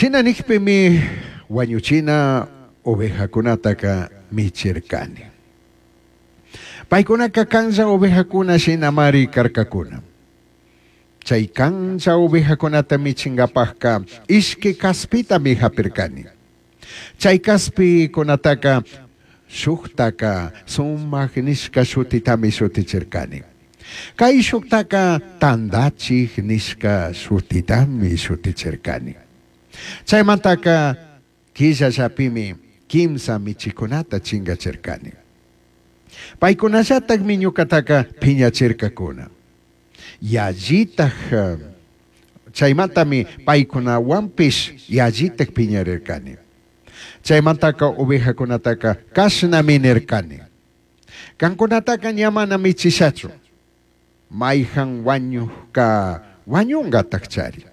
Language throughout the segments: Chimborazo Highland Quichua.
Shina nijpimi huañuchina ovejacunataca michircani. Paicunaca canlla ovejacuna shinamari carcacuna. Chai canlla ovejacunata michingapajca ishqui caspitami japircani. Chai caspicunataca shujtaca sumaj nishca shutitami shutichircani. Caishujtaca tandachij nishca shutitami shutichircani. Chaimantaca quillallapimi quimsa michicunata chingachircani. Paicunallatajmi ñucataca piñachircacuna. Yallitaj chaimantami paicunahuanpish yallitaj piñarircani. Chaimantaca ovejacunataca cashnami nircani. Cancunataca ña mana michishachu. Maijan huañujca huañungatajchari.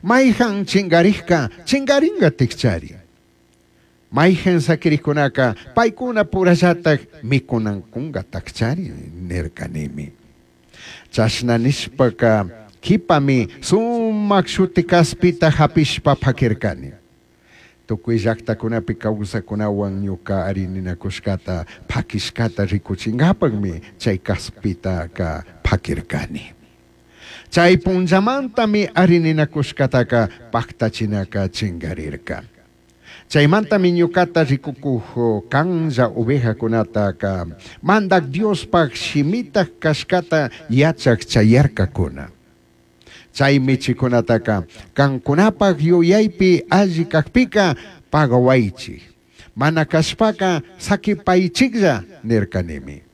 Maijan chingarijca chingaringatajchari. Maijan saquirijcunaca paicuna purallataj micunancungatajchari nircanimi. Chashna nishpaca quipami sumaj shuti caspita japishpa paquircani. Tucui llajtacunapi causacunahuan ñuca ari ninacushcata paquishcata ricuchingapajmi chai caspitaca paquircani. Chai punllamantami ari ninacushcataca pajtachinaca chingarirca. Chaimantami ñucata ricucuj canlla ovejacunataca Mandaj Diospaj shimitaj cashcata yachaj chayarcacuna. Chai michicunataca cancunapaj yuyaipi alli cajpica pagahuaichij. Mana cashpaca saquipaichijlla nircanimi.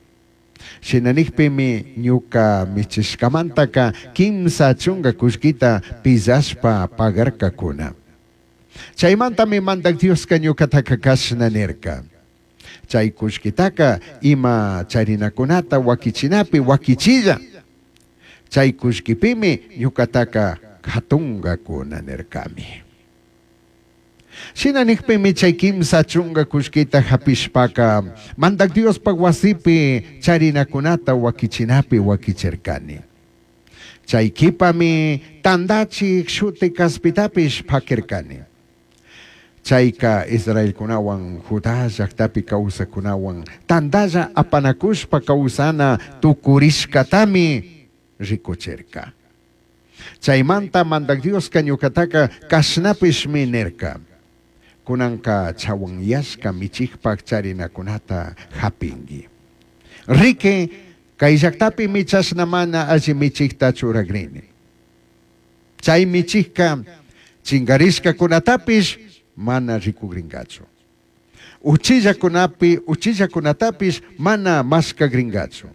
Shina nijpimi ñuca michishcamantaca quimsa chunga cullquita pillashpa pagarcacuna. Chaimantami Mandaj Diosca ñucataca cashna nirca. Chai cullquitaca ima charinacunata huaquichinapi huaquichilla. Chai cullquipimi ñucataca jatungacuna nircami. Shina nijpimi chai quimsa chunga cullquita japishpaca Mandaj Diospaj huasipi charinacunata huaquichinapi huaquichircani. Chai quipami tandachij shuti caspitapish paquircani. Chaica israelcunahuan Judá llajtapi causacunahuan tandalla apanacushpa causana tucurishcatami ricuchirca. Chaimanta Mandaj Diosca ñucataca cashnapishmi nirca. Cunanca chahuanyashca michijpaj charinacunata japingui. Riqui, cai llajtapimi chashna mana alli michijta churagrini. Chai michijca chingarishcacunatapish mana ricugringachu. Uchillacunapi uchillacunatapish mana mashcagringachu.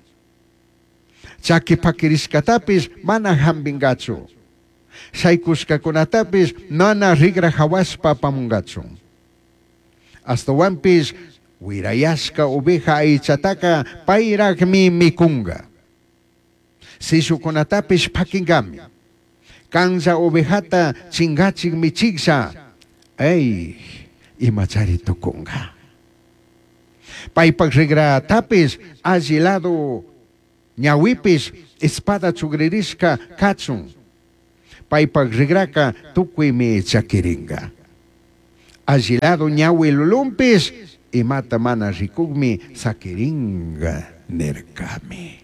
Chaqui paquirishcatapish mana jambingachu. Shaicushcacunatapish mana rigra jahuashpa apamungachu. Ashtahuanpish huirayashca oveja aichataca pairajmi micunga. Sishucunatapish paquingami. Canlla ovejata chingachij michijlla, ey, imachari tucunga. Paipaj rigratapish alli lado ñahuipish espada chugririshca cachun. Paipaj rigraca tucuimi chaquiringa. Alli lado ñahui lulunpish imata mana ricujmi saquiringa nircami.